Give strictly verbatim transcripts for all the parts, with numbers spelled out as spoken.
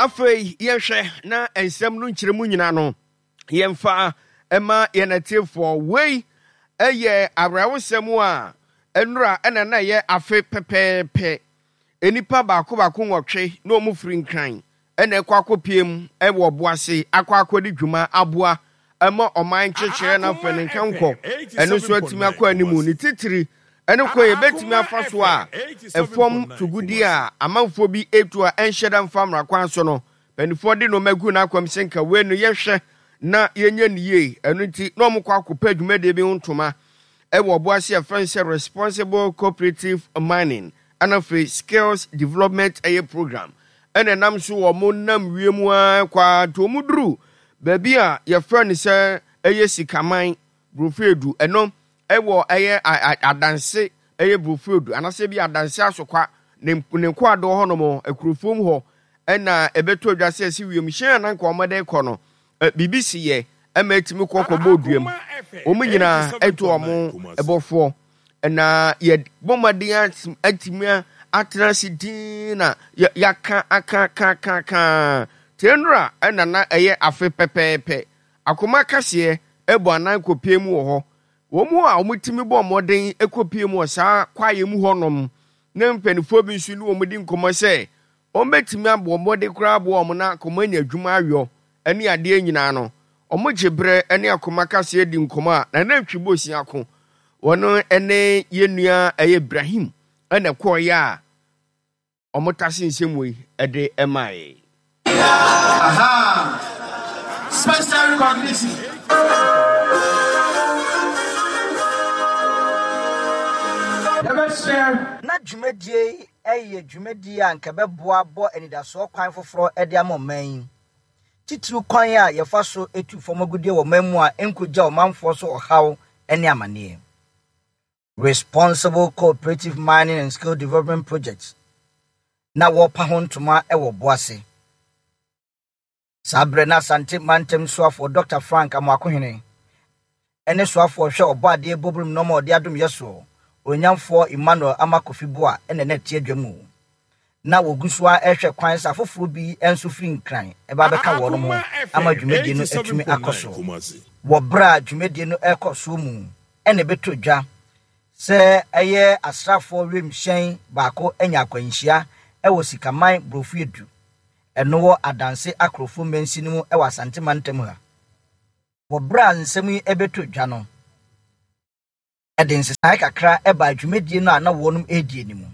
Afei yɛnhwɛ na nsɛm no nkyerɛmu nyinaa no yɛmfa ɛma yɛn atiefoɔ. Wei ɛyɛ awerɛhosɛm a nnora ɛna na ɛyɛ afe pɛpɛɛpɛ. Nnipa baako baako nwɔtwe na wɔn firi Nkran ɛna ɛkɔ akɔpie mu ɛwɔ Ɔboase akɔ akɔdi dwuma aboa ɛma ɔman nkyekyerɛ no afɛ ne nkankɔ ɛno nso atumi akɔ anim, ne titiri ɛne kwan yɛbɛtumi afa so a ɛfam tugudi a amanfoɔ bi etu a ɛnhyɛ da mfa mmara kwan so no, mpanimfoɔ de nneɛma gu n'akwam sɛ nka wei no yɛhwɛ na yɛnyɛ ne yie. Ɛno nti na wɔn kɔ akɔpɛ dwumadie bi ho ntoma ɛwɔ Ɔboase a yɛfrɛ no sɛ Responsible Cooperative Mining ɛna afei Skills Development ɛyɛ program, ɛna ɛnam so wɔn nam wiem ara kɔ ara nti wɔn duru baabi a yɛfrɛ no sɛ ɛyɛ Sikaman Burofeedu, ɛno ɛwɔ ɛyɛ Adanse, ɛyɛ Burofeedu anaasɛ bi Adanse Asokwa ne ne nkoadoɔ hɔnom akurofuom hɔ, ɛna ɛbɛtɔ dwa sɛ ɛsi wiemhyɛn a nanka wɔn de kɔ no, biribi si yɛ ɛma ɛtumi kɔ kɔbɔ duam. Wɔn nyinaa ɛto wɔn ɛbɔfoɔ na yɛbɔ mmɔden atumi atena ase din na yɛaka aka aka aka aka tie. Nnora ɛna na ɛyɛ afe pɛpɛɛpɛ. Akoma kaseɛ ɛbɔ anan kɔpie mu wɔ hɔ. Wɔn mu a wɔtumi bɔ mmɔden kɔpie mu wɔ saa kwaeɛ mu hɔnom ne mpanimfoɔ bi nso ne wɔn di nkɔmmɔ sɛ wɔn bɛtumi abɔ mmɔden koraa aboa wɔn na akɔmɔ anya adwuma ayɔ ne adeɛ nyinaa no. Wɔn gye berɛ ne Akoma kaseɛ di nkɔmmɔ a Nana Ntwi Bosia ko wɔn ne yɛn nua ɛyɛ Ibrahim ɛna ɛkɔɔyɛ a wɔn tase nsɛm wei ɛde ɛmaa. Aha! Special recognition. Yɛbɛhyɛ. Na dwumadie yi yɛ dwumadie a nka bɛboa bɔ anidasoɔ kwan foforɔ de ama ɔman yi, titiriw kwan a yɛfa so etu fam agudeɛ wɔ ɔman mu a nkogya ɔmanfoɔ so ɔhaw ne amanneɛ. Responsible Cooperative Mining and Skill Development Project na wɔrepa ho ntoma wɔ Boase saa berɛ na Asante Mantam soafoɔ Doctor Frank Amoakohene ɛne soafoɔ hwɛ ɔbɔ adeɛ bɔbrom nɔɔma ɔde adom yɛ soɔ, Onyamfoɔ Emmanuel Ama Kofi Boa, ɛna na ɛte adwa mu na wɔgu so a ɛhwɛ kwan sɛ afoforɔ bi nso firi Nkran ɛba bɛka wɔn ho ama dwumadie no atumi akɔ so. Wɔ berɛ a dwumadie no ɛrekɔ soɔ mu ɛna ɛbɛtɔ dwa sɛ ɛyɛ asraafoɔ wiemhyɛn baako anya akwanhyia ɛwɔ Sikaman Borɔfo Edu, ɛno wɔ Adanse Akorɔfo mmansi no mu ɛwɔ Asante Mantam ha. Wɔ berɛ a nsɛm yi ɛbɛtɔ dwa no, ɛde nsesaeɛ kakra ɛbaa dwumadie no a na wɔnom ɛredie no mu.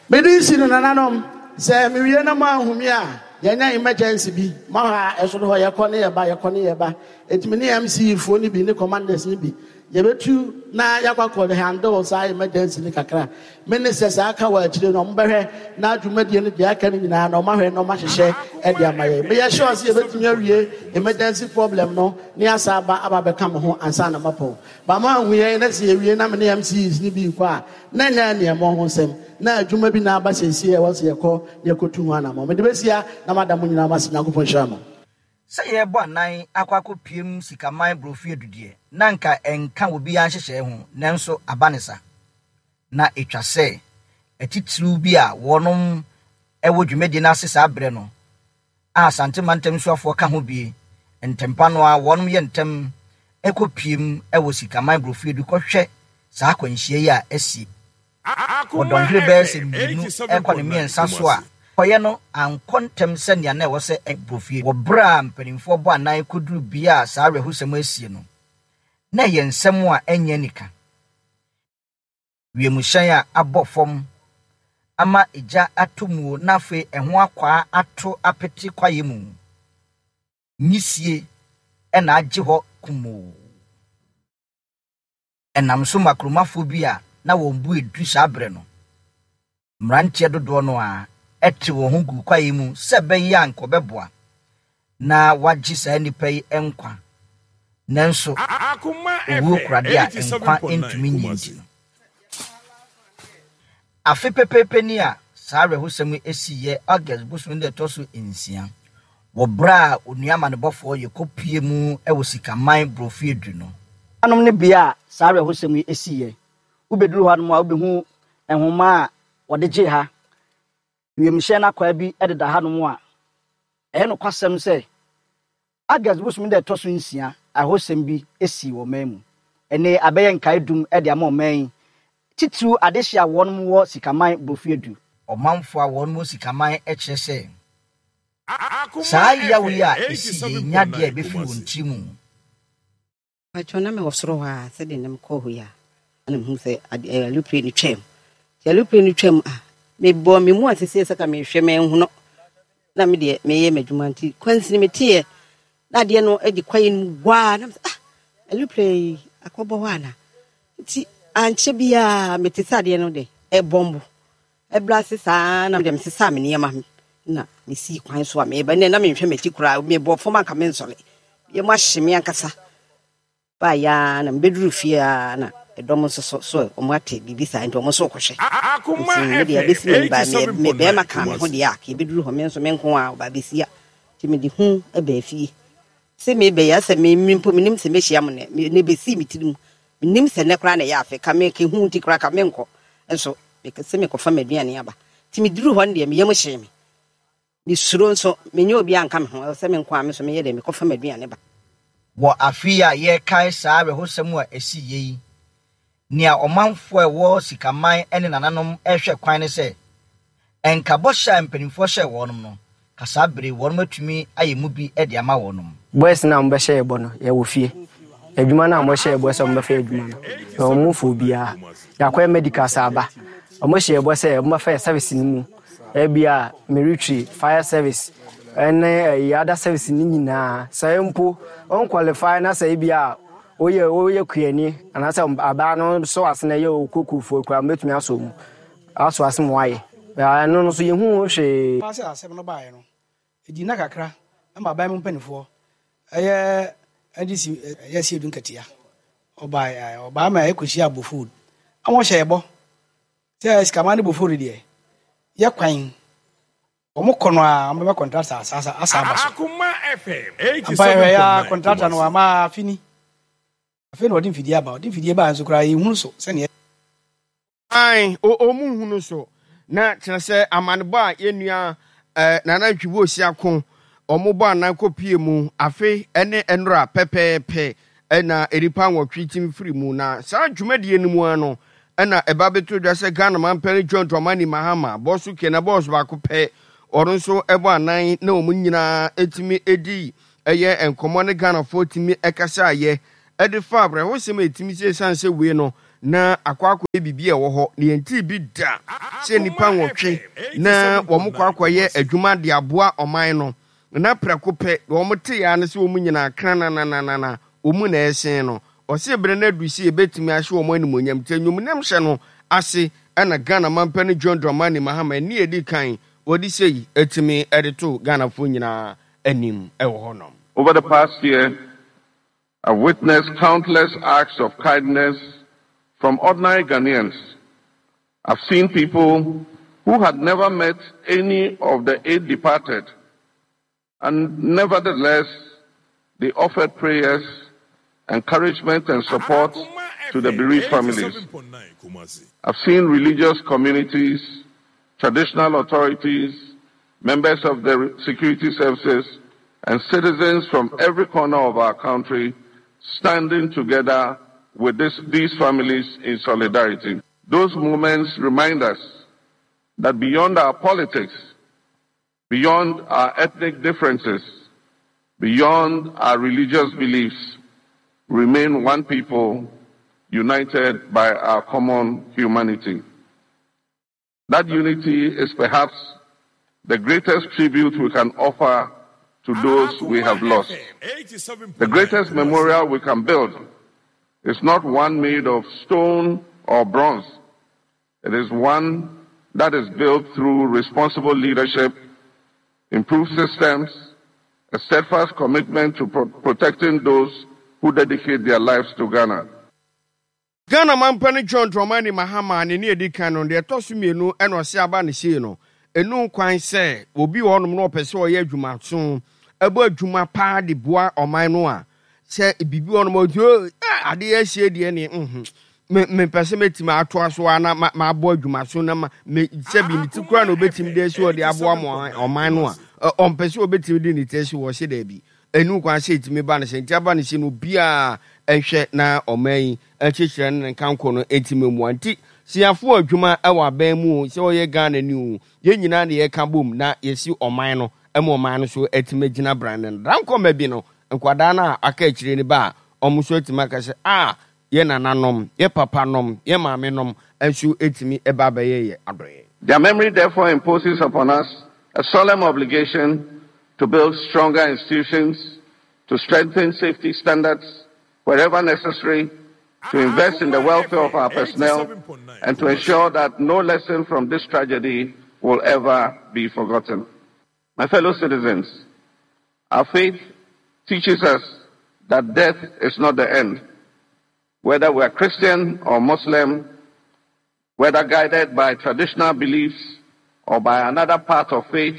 Mede si no, nananom, sɛ mewie na mo ahumi a yɛnya emergency bi ma hɔ a ɛsoro hɔ, yɛkɔ ne yɛba, yɛkɔ ne yɛba. Ɛtumi ne M C E foɔ no bi ne commanders no bi yɛbɛtu na yɛakɔ akɔ handle saa emergency no kakra. Me ne sɛ saa ka wɔ akyire no, ɔmo na dwumadie no deɛ aka no nyinaa na ɔmahwɛ na ɔmahyehyɛ ɛde ama yɛn. Meyɛ sure sɛ yɛbɛtumi awie emergency problem no ne asa aba aba bɛka mo ho ansa na mapɔn ba mo ahu yɛn. Na sɛ yɛwie na me ne M C Es no bi kɔ a, na nyɛ nneɛma ho nsɛm na adwuma bi na aba sɛsie a ɛwɔ sɛ yɛkɔ na yɛkɔtu ho anammɔ. Mede bɛsia na mada mo nyinaa mase. Nyankopɔn hyira mo. Sɛ yɛrebɔ anan akɔ akɔpiem Sikaman Borɔfo adudeɛ na nka ɛnka obiara nhyehyɛe ho, nanso aba ne sa na ɛtwa sɛ atitiriw bi a wɔnom ɛwɔ dwumadie no ase saa berɛ no a Asante Mantam soafoɔ ka ho bie ntɛmpa no a wɔnom yɛ ntɛm ɛkɔpiem ɛwɔ Sikaman Borɔfo Edu kɔhwɛ saa akwanhyia yi a asi wɔ dɔnhwere bɛyɛ sɛ mmienu ɛkɔ ne mmiɛnsa so a kɔyɛ no ankɔ ntɛm sɛnea na ɛwɔ sɛ Borɔfie. Wɔ berɛ a mpanimfoɔ bɔ anan kɔduru bea a saa awerɛhosɛm asie no, na ɛyɛ nsɛm a ɛnyɛ nika. Wiemhyɛn a abɔ fam ama egya atɔ mu na afei ɛho akwaa ato apete kwaeɛ mu, nyisie ɛna agye hɔ kumoo. Ɛnam so ma kuromafoɔ bi a na wɔn bu edu saa berɛ no, mmeranteɛ dodoɔ no a ɛte wɔn ho gu kwaeɛ mu sɛ ɛbɛyɛ a nkɔbɛboa na wagye saa nnipa yi nkwa, nanso owuo korade a nkwa ntumi nyi nti no, afe pɛpɛɛpɛ ni a saa awerɛhosɛm yi esiiɛ, August bosom no ɛtɔ so nsia, wɔ berɛ a onua amanebɔfoɔ yɛkɔpie mu wɔ Sikaman Borɔfo Edu no anom ne bea a saa awerɛhosɛm yi esiiɛ. Wobɛduru hɔ anom a, wobɛhu nhoma a wɔde gye ha wiemhyɛn no akwaa bi deda hanom a Ɛyɛ nokwasɛm sɛ August bosome da ɛtɔ so nsia ahosɛm bi esi wɔ ɔman mu. Ɛne abɛyɛ nkae dum de ama ɔman yi, titiriw adehye a wɔn wɔ Sikaman Brofuadu. Ɔmanfo a wɔn wɔ Sikaman kyerɛ sɛ saa yaw yi a esi yɛ nya deɛ a ebɛfiri wɔn tiri mu. Atwa na mewɔ soro hɔ a, sɛdeɛ nam kɔɔ hɔ yi a, na mehu sɛ alupre no twam. Nti alupre no twam a, mebɔɔ me mu ase sɛ ka mehwɛ manhu no, na me deɛ meyɛ m'adwuma. Nti kwansini meteeɛ na adeɛ no de kwaeɛ no mu waa, na mesɛ, ah, alupre yi akɔbɔ hɔ ana? Nti ankyɛ biaa mete sɛ adeɛ no de ɛbɔmbo ɛbrɛ ase saa, na deɛ mesesaa me nneɛma na mesii kwan so a meba. Nɛ na menhwɛ m'akyi koraa, mebɔ fam anka mensɔre yɛ mu ahye me ankasa. Baayɛ na mebɛduru fie a, na ɛdɔm nso so so ɔmo ate biribi saa, nti ɔmo nso kɔhwɛ. Nti me deɛ bɛsi m'ani ba me bɛrima ka me ho deɛ a, ka yɛbɛduru hɔ, me nso me nko a ɔba bɛsi a. Nti mede hu baa fie sɛ mebɛyɛ sɛ me mpo menim sɛ mɛhyia mo nɛ. Ne bɛsii me tiri mu, menim sɛ nnɛ koraa na ɛyɛ afe ka me ka hu, nti koraa ka menkɔ nso sɛ mekɔfa m'aduane aba. Nti meduru hɔ no deɛ, meyam hyee me, mesuro nso menyɛ obi anka me ho, ɛwɔ sɛ me nko a me nso meyɛ dɛ mekɔfa m'aduane ba. Wɔ afe yi a yɛrekae saa awerɛhosɛm a ɛsi yie yi, nea ɔmanfoɔ a ɛwɔ Sikaman ne nananom rehwɛ kwan ne sɛ ɛnka bɔhyɛ a mpanimfoɔ hyɛɛ wɔn no ka saa bere wɔn atumi ayɛ mu bi de ama wɔn. Boys no a wɔbɛhyɛ yɛ bɔ no, yɛwɔ fie. Adwuma no a wɔhyɛ yɛ bɔ sɛ wɔbɛfa adwuma no na wɔn mu fo obiara yɛakɔyɛ medical sɛ aba, wɔhyɛ yɛ bɔ sɛ wɔbɛfa yɛ service no mu, ebi a military, fire service ɛne ɛyɛ other service no nyinaa. Sɛ mpo wɔn qualify na sɛ ebi a woyɛ woyɛ kuani anaasɛ abaa no sɔ ase na ɛyɛ okokofoɔ kura, wɔbɛtumi asɔ mu asɔ ase mu ayɛ ɛno no so yɛhu hwee. Sɛ asɛm no baeɛ no, ɛdi nna kakra ama aban mu mpanimfoɔ, ɛyɛ N D C, ɛyɛ Asiedu Nketia, ɔbaa ɔbaa ma ɛkɔhyia Abofod ama ɔhyɛ ɛbɔ sɛ Sikaman ne Bofod deɛ yɛ kwan wɔn kɔ no a, wɔbɛma contractor asa asa aba so. Ampa, yɛhwɛ ya, contractor no ama afini afei na ɔde mfidie aba. Ɔde mfidie baa nso koraa, yɛhunu so sɛneɛ Ae, ɔmu hunu so na kyerɛ sɛ amanebɔ a yɛnnua eh, Nana Ntwibu Osi ako ɔmo bɔ anan kɔpie mu afe ne nnora pɛpɛɛpɛ ɛna nnipa nwɔtwe timi firi mu. Na saa dwumadie no mu ara no ɛna ɛba bɛto dwa sɛ Ghana mampanin John Dramani Mahama bɔso kena bɔɔso baako pɛ, ɔno nso ɛbɔ anan na wɔn nyinaa ɛtumi ɛdi ɛyɛ nkɔmmɔ ne Ghanafoɔ tumi ɛkasa ayɛ ɛde fa awerɛhosɛm a ɛtumi sɛ ɛsiane sɛ wei no na akɔ akɔyɛ biribi a ɛwɔ hɔ na yɛntiri bi da sɛ nnipa nwɔtwe na wɔn kɔ akɔyɛ adwuma de aboa ɔman no, na prɛko pɛ wɔn te ya no sɛ wɔn nyinaa kranananana wɔn na ɛsen no. Ɔsɛ berɛ no adu sɛ yɛbɛtumi ahyɛ wɔn animonyam, nti anwumnam hyɛ no ase ɛna Ghana mampanin John Dramani Mahama ɛne yɛdi kan wɔde sei atumi ɛde to Ghanafoɔ nyinaa anim ɛwɔ hɔnom. Over the past year, I've witnessed countless acts of kindness from ordinary Ghanaians. I've seen people who had never met any of the eight departed, and nevertheless, they offered prayers, encouragement, and support to the bereaved families. I've seen religious communities, traditional authorities, members of the security services, and citizens from every corner of our country standing together with this, these families in solidarity. Those moments remind us that beyond our politics, beyond our ethnic differences, beyond our religious beliefs, remain one people united by our common humanity. That unity is perhaps the greatest tribute we can offer to those we have lost. The greatest memorial we can build is not one made of stone or bronze. It is one that is built through responsible leadership, improved systems, a steadfast commitment to pro- protecting those who dedicate their lives to Ghana. Ghana mampanin John Dramani Mahama ne ne edi kan no, deɛ ɛtɔ so mmienu ɛna ɔse aba ne sei no, ɛnu kwan sɛ obi wɔ hɔnom na ɔpɛ sɛ ɔyɛ adwumaso, ɛbɔ adwuma paa de boa ɔman no a, sɛ biribi wɔ hɔnom a ɔti adeɛ asie deɛ ne mhm mepɛ sɛ mɛtumi atoa so a na mabɔ adwumaso na ma me sɛbi ne ti koraa na obɛtumi de asi ɔde aboa mo ɔman no a, Ɔmpɛ sɛ ɔbɛtumi de ne ti asi wɔ se daabi, ɛnu kwan sɛ ɛtumi ba no sɛ nti aba no sɛ no obiaa ɛhwɛ na ɔman yi akyekyerɛ no ne nkanko no ɛntumi mmoa. Nti siafoɔ adwuma ɛwɔ aban mu o, sɛ ɔyɛ Ghana ni o, yɛn nyinaa ne yɛka bom na yɛsi ɔman no ɛma ɔman no so atumi agyina brand no dankɔma bi no. Nkwadaa no a aka akyire no ba a, ɔmo nso atumi aka sɛ a yɛ nananom, yɛ papa nom, yɛ maame nom nso atumi ɛba abɛyɛ yɛ adɔeɛ. Their memory therefore imposes upon us a solemn obligation to build stronger institutions, to strengthen safety standards wherever necessary, to invest in the welfare of our personnel, and to ensure that no lesson from this tragedy will ever be forgotten. My fellow citizens, our faith teaches us that death is not the end. Whether we are Christian or Muslim, whether guided by traditional beliefs or by another path of faith,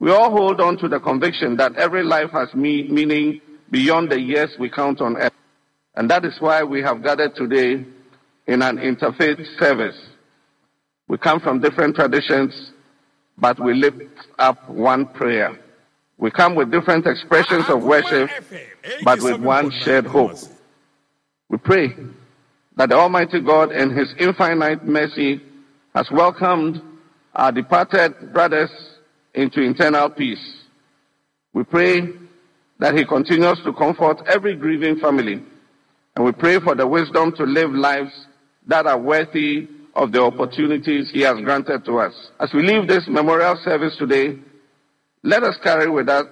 we all hold on to the conviction that every life has me- meaning beyond the years we count on earth. And that is why we have gathered today in an interfaith service. We come from different traditions, but we lift up one prayer. We come with different expressions of worship, but with one shared hope. We pray that the Almighty God, in His infinite mercy, has welcomed our departed brothers into eternal peace. We pray that He continues to comfort every grieving family. And we pray for the wisdom to live lives that are worthy of the opportunities He has granted to us. As we leave this memorial service today, let us carry with us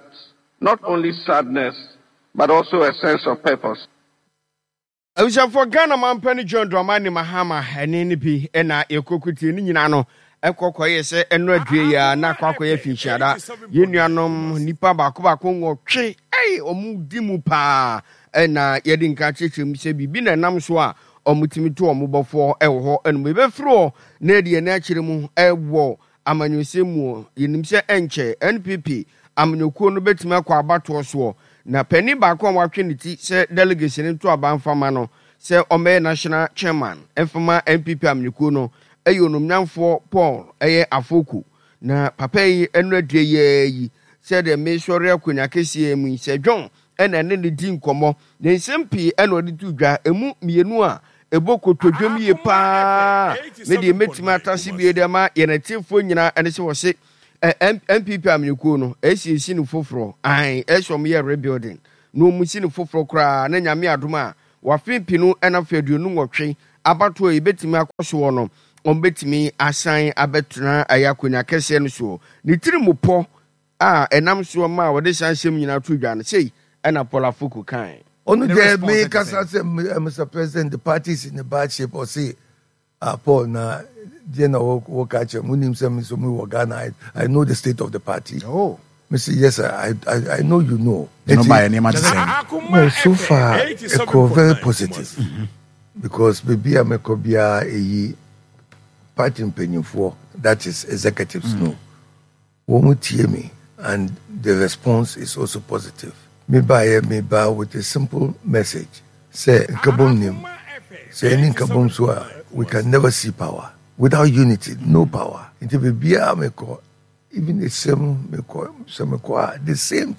not only sadness, but also a sense of purpose. Abusuafoɔ, Ghana mampani John Dramani Mahama ɛne ne bi ɛna yɛkɔkutie ne nyinaa no ɛkɔ kɔyɛ sɛ ɛno adue yi a na akɔ akɔyɛ finhyiada. Yɛn nuanom nipa baako baako nwɔtwe ɛy ɔmo di mu paa ɛna yɛde nka kyerɛkyerɛ mu sɛ biribi na ɛnam so a ɔmo tumi to ɔmo bɔfoɔ ɛwɔ hɔ. Ɛnum yɛbɛfiri hɔ na yɛde yɛn akyerɛ mu ɛwɔ amanyɔsɛm mu. Yɛnim sɛ ɛnkyɛ N P P amanyɔkuo no bɛtumi akɔ abatoɔ soɔ, na panin baako a watwe ne ti sɛ delegation nto aba mfama no sɛ ɔmmɛyɛ national chairman mfama N P P amanyɔkuo no ɛyɛ onumnyamfoɔ Paul ɛyɛ Afoko. Na papa yi ɛno adua yɛɛ yi sɛdeɛ mesɔre akonnwa kɛseɛ mu yi sɛ John ɛna ɛne ne di nkɔmmɔ na nsɛm pii ɛna ɔde to dwa. Emu mmienu a ɛbɔ kotodwom yie paa me deɛ mɛtumi atase bie de ama yɛn atiefoɔ nyinaa ɛne sɛ wɔse N P P amanyɔkuo no ɛsiesie no foforɔ ae, ɛsɛ ɔmo yɛ rebuilding na ɔmo si no foforɔ koraa na Nyame adom a wafe pinu ɛna afei aduonu nwɔtwe abatoɔ yi bɛtumi akɔ soɔ no, ɔmo bɛtumi asan abɛtena ɛyɛ akonnwa kɛseɛ no soɔ. Ne tiri mu pɔ a ɛnam soɔ ma a wɔde san hyɛm nyinaa to dwa no sei ɛna Paul Afoko kae. Ɔno deɛ me kasa sɛ, "Mister President, the party is in a bad shape." Ɔse, "Ah, Paul, na deɛ na wɔka kyerɛ mu nim sɛ me nso me wɔ Ghana, I, I know the state of the party." Oh. Me say, "Yes sir, I, I, I know you know." No ba nneɛma te sɛn? Well, so far ɛkɔ very positive mm-hmm. because baabi a mɛkɔ biara ɛyi party mpanyinfoɔ, that is executives mm. no wɔn mu tie me and the response is also positive. Me baayɛ, me ba with a simple message sɛ nkabom nim sɛ ɛne nkabom so a, we can never see power. Without unity, no power. Nti baabiara mekɔ, even the same mekɔ sɛ mekɔ a, the same